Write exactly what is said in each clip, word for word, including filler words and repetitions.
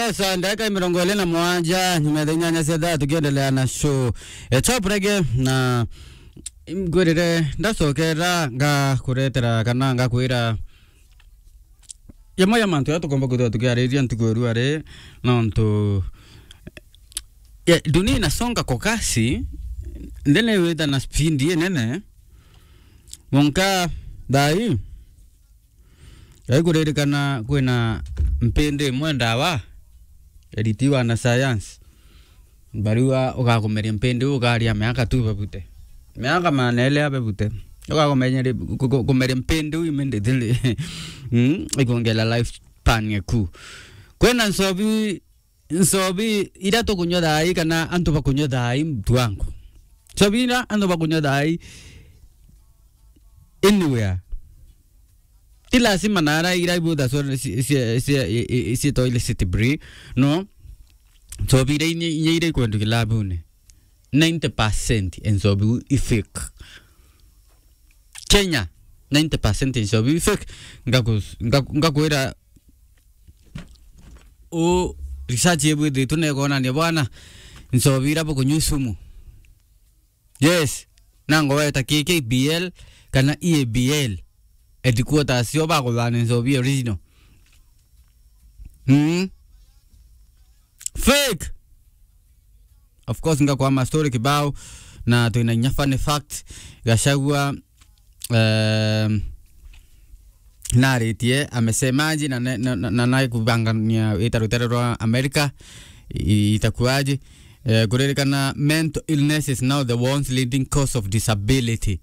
Yes, ndagika mirongo iri na mugwanja, nyuma ya thaa inyanya cia thaa, tukiendelea na show. E, top reggae, na ngwirire, ndacokera, ngakuretera kana ngakwira jamwe ya mantu ya tukomba kwithirwa tukiariria ntuku ya rua ri, nontu, ya, dunia inasonga kwa kasi, ndene wita na speed inene, monka thai, Gai kuririkana kwina mpindi imwe ndawa, eriti wanasayansi, bariuga ugakumeria mpindi iu ukaria miaka tu bebute. Miaka maana iri bebute. Ugakumeria, ku-, ku-, kumeria mpindi iu immediately. Mm, ikwongera life span yaku. Kwina nsobi nsobi iria tukunywa thaai kana antu bakunywa thaai, mtu wangu. Nsobi iria antu bakunywa thaai anywhere. Ti lazima nara iria ibutha so-, si-, si-, si-, i-, i-, i-, cietwa illicit breed, no. Nsobi iria inya, inya iria ikwendwa kilabune, ninety percent ya nsobi iu i fake. Kenya, ninety percent ya nsobi i fake. Ngaku-, ngaku-, ngakwira u research ibwithitwe na ikonania bwana, nsobi iria bukunywa sumu. Yes. Na ngoweta K K B L kana E A B L. Headquarters cio bakuthana nsobi original. Mm. Fake. Of course, ngakwama story kibao, na twina inya funny fact. Gachagua, um, naritie, amesemaje, na ne-, na, na, na, na kubangania ita rutere rwa America, i-, itakuaje? Eh, kuririkana mental illness is now the once leading cause of disability.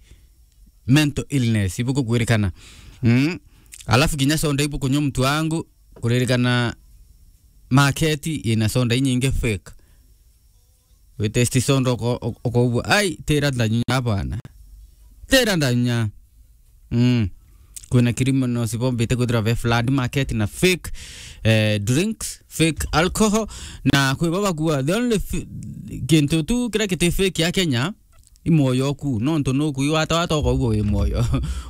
Mental illness, ibuku kwirikana. Mm. Alafu kinya soda ibuku nywa mtu wangu, kuririkana market ina soda inyingi fake. Witesti soda uko-, uko-, ukougua, "Ai, tira ndanywa bwana. Tira ndanywa." Mm. Kwina criminals bombite kwithirwa be flood market na fake, eh, drinks, fake alcohol, na kwi baba kuwa. The only f-, kintu tu kiria kiti fake ya Kenya, i mwoyo oku, nontu nuku iwata wata ukaigua wi mwoyo.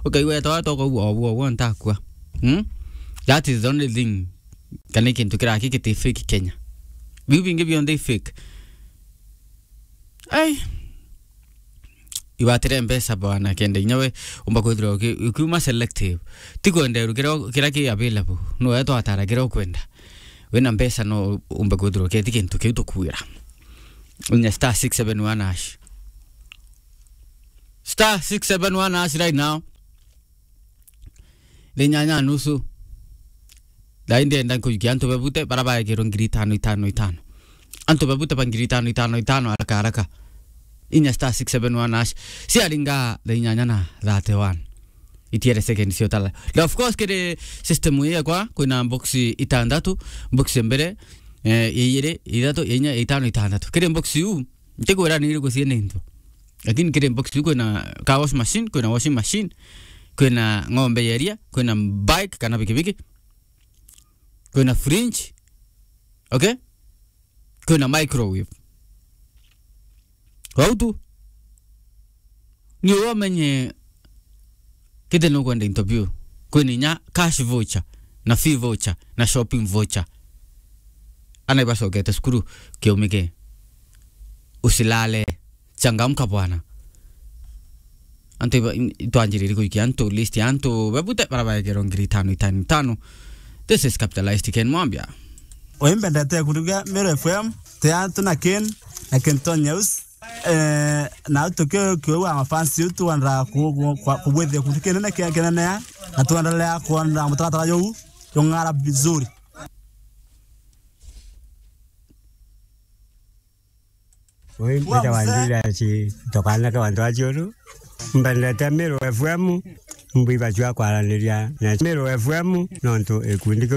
Ukaigua wata wata ukaigua obu, obu ntakua. Hmm? That is the only thing. Kana kintu kiraki kiti fake Kenya. Biu bingi bionthe i fake. Ai. Iwatire mbeca bwana kenda inya we umba kwithirwa uki-, ukiuma selective. Ti kwenda iru kiria, kiria ki available. No we twatara kiria ukwenda. Wina mbeca no umbe kwithirwa uketi kintu kiu tukwira. Inya star six seven one hash. Star six seven one hash right now. Thaa inyanya nusu. Thaa ii ndienda nkujukia antu bebute bara baekirwe ngiri itano, itano, itano. Antu bebute ba ngiri itano, itano, itano, haraka, haraka. Inya star six seven one hash. Ciaringa thaa inyanya na thirty-one. Itiere second ciotala. Na of course, kiri system ii yakwa, kwina box itandatu, box ya mbere, eh, ya iiri, ya ithatu, ya inya, ya itano, itandatu. Kiri box iu, ntikwira ni iriku ciina into. Lakini kiri box iu kwina car wash machine, kwina washing machine, kwina ng'ombe ya iria, kwina bike kana pikipiki, kwina fridge, okay? Kwina microwave. Wau tu. Ni uwe umenye kiti nukwenda into biu. Kwina inya cash voucher, na fee voucher, na shopping voucher. Ana ibacokete cukuru kiumike. Usilale. Changamka bwana. Antu iba-, in-, itwanjiriri kuikia antu list ya antu bebute bara baekerwa ngiri itano, itano, itano. This is Capitalized Ken Mwambia. Uyu mbendete kuruga Meru F M, ti antu na Ken, na Kenton News. Eh, na tuki-, kiuga mafans yetu twenda ku-, ku-, kwa-, kubwithia kuntu kinene kia-, kinene ya, na twendelea kuona mutaratara juu jung'ara vizuri. Ui mbita wa Julius, tukanake wa Ndwachiuru. Mbendete Meru F M, mbwibatua kwaraniria na Meru F M, nontu ikundi kiu